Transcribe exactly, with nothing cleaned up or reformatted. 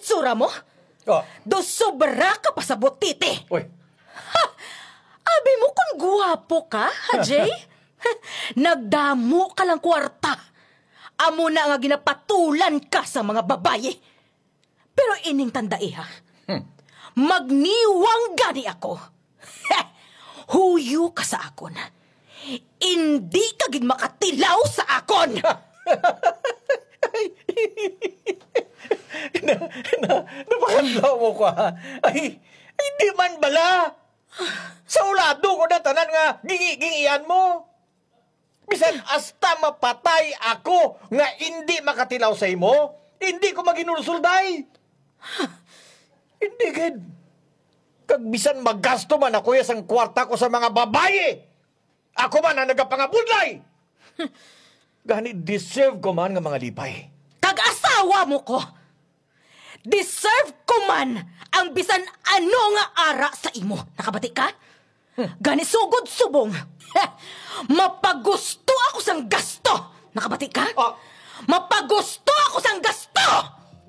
itsura mo? Oh, Do sobra ka pa sa butiti. Uy, Ha! Abi mo kung guwapo ka, ha, Jay? Nagdamo ka lang kwarta. Amo na nga ginapatulan ka sa mga babayi. Pero ining tandai, ha? Magniwang gani ako. Huyo ka sa akon. Indi ka gid makatilaw sa akon. na, na, napakadlaw mo ko, ha? Ay, ay, di man bala. Sa ulado ko na tanan nga gingi-gingian mo. Bisan hasta mapatay ako nga indi makatilaw sa imo, indi ko maginulsulday. Hindi gid. Kag bisan magasto man ako ya sang kwarta ko sa mga babayi, ako man ang nagapangabudlay. Gani deserve ko man nga mga lipay. Kag asawa mo ko. Deserve ko man ang bisan ano nga ara sa imo. Nakabati ka? Gani sugod subong. Mapagusto ako sang gasto. Nakabati ka? Ah. Mapagusto ako sang gasto!